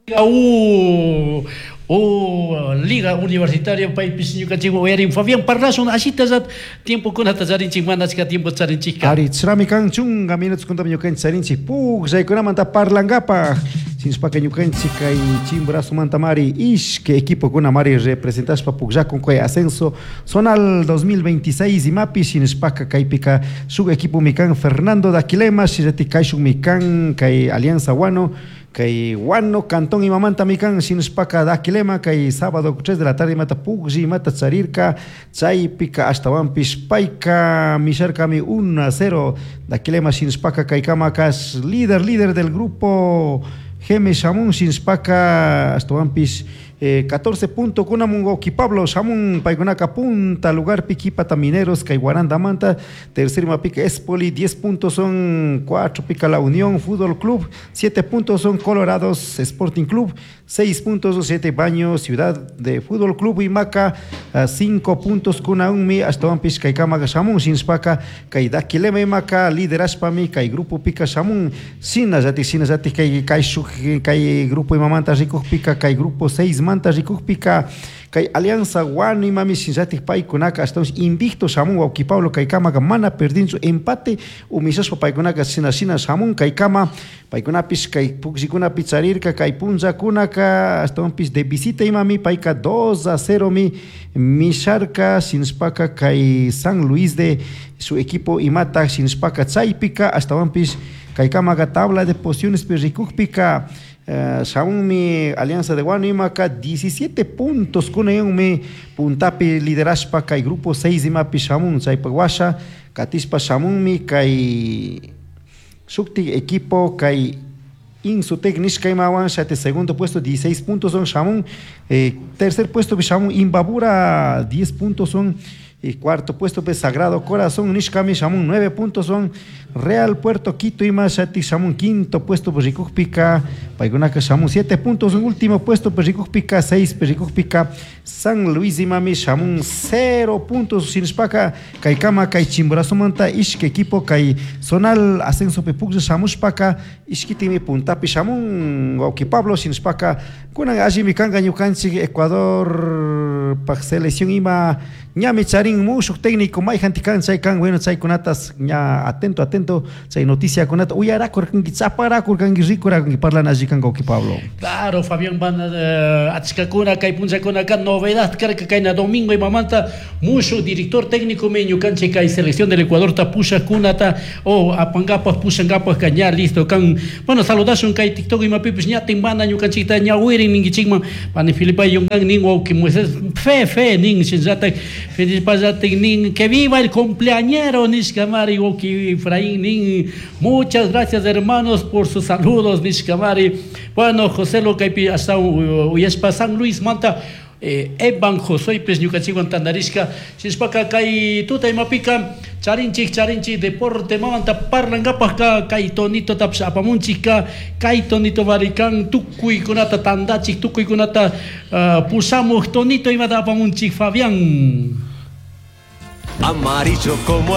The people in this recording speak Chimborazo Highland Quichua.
U, U Liga Universitaria paypish ñukanchikwan uyarin. Fabián, parlashun ashita tiempokunata charinchik, mana achka tiempo charinchikka. Ari, chrami kan chunka minutos kuntami ñukanchik charinchik pukllaykunamanta parlankapaj. Shinashpaka ñukanchik kay Chimborazomanta mari ishki equipokuna mari representashpa pukllakun kay ascenso zonal 2026 imapi. Shinashpaka kaypika shuk equipomi kan Fernando Daquilema, shinallatik kayshukmi kan kay Alianza Guano, kay Guano cantón imamantami kan. Shinashpaka Daquilema kay sábado 3 de la tarde imata puklli imata charirka, chaypika ashtawanpish payka misharkami 1-0 Daquilema. Shinashpaka kaykamaka líder del grupo Geme shamun. Shinashpaka ashtawanpish 14 punto kunamun wawki Pablo shamun paykunaka punta lugarpi, kipata Mineros kay Guarandamanta, tercer mapika Espoli 10 puntos son, 4 pica La Unión Fútbol Club, 7 puntos son Colorados Sporting Club, 6 puntos 7 Baño Ciudad de Fútbol Club imaka 5 puntos kunaunmi ashtawanpish kaykamaka shamun. Shinashpaka kay Daquilema imaka liderashpami kay grupo pika shamun. Shinallatik kay kayshuk kay grupo imamanta rikukpika, kay grupo 6 manta rikukpika, kay Alianza Guano imami shinallatik paykunaka ashtawanpish invicto shamun, wawki Pablo, kaykamaka mana perdinchu, empate umishashpa paykunaka shina shina shamun kaykama. Paykunapish kay pukllikunapi charirka kay punllakunaka, ashtawanpish de visita imami payka 2-0 mi misharka. Shinashpaka kay San Luis de su equipo imata. Shinashpaka chaypika ashtawanpish kaykamaka tabla de posiciones rikukpika shamunmi Alianza de Guano imaka 17 puntos kunayunmi puntapi liderashpa kay grupo 6 imapi shamun. Chaypak washa katishpa shamunmi kay shuktik equipo kay Insutec nishka imawan shati segundo puesto 16 puntos son shamun, tercer puesto shamun Imbabura 10 puntos son, y cuarto puesto pues Sagrado Corazón nishkami shamun 9 puntos son, Real Puerto Quito ima shati shamun quinto puesto pues rikukpika paykunaka shamun 7 puntos, en último puesto pues rikukpika 6 pues rikukpika San Luis imami shamun 0 puntos. Shinashpaka kaykama kay Chimborazomanta ishki equipo kay zonal ascenso pi puklla shamushpaka ishkitimi puntapi shamun, wawki Pablo. Shinashpaka kunan allimi kanka ñukanchik Ecuador pak selección ima ñami charin mushuk técnico, mayjanti kan chay kan. Bueno, chaykunatas ña atento atento chay noticiakunata uyarakurkanki, chaparakurkanki, rikurakunki, parlana alli kanka, wawki Pablo. Claro, Fabián, van achkakuna kay punllakunaka novedad karka kayna domingo imamanta mushuk director técnico mi ñukanchik kay selección del Ecuador ta pushakunata o apankapak pushankapak ka ña listo kan. Bueno, saludashun kay TikTok imapipis ña timbana ñukanchikta ñawirin ninkichikman. Pani Filipa Yungan nin, wawki Moisés fe fe nin, shinallatak Filipa nin "Que viva el cumpleañero" nishkamari. Wawki Efraín nin "Muchas gracias, hermanos, por sus saludos" nishkamari. Bueno, José lo kaypi hasta uyashpa San Luis manta Evan Josuepis ñukanchikwan tandarishka. Shinashpaka kay tuta imapika charinchik deporte mamanta parlankapakka kay Tonitotapish apamunchikka. Kay Tonito varikan tukuykunata tandachik, tukuykunata pushamuk. Tonito imata apamunchik, Fabián? Amarillo como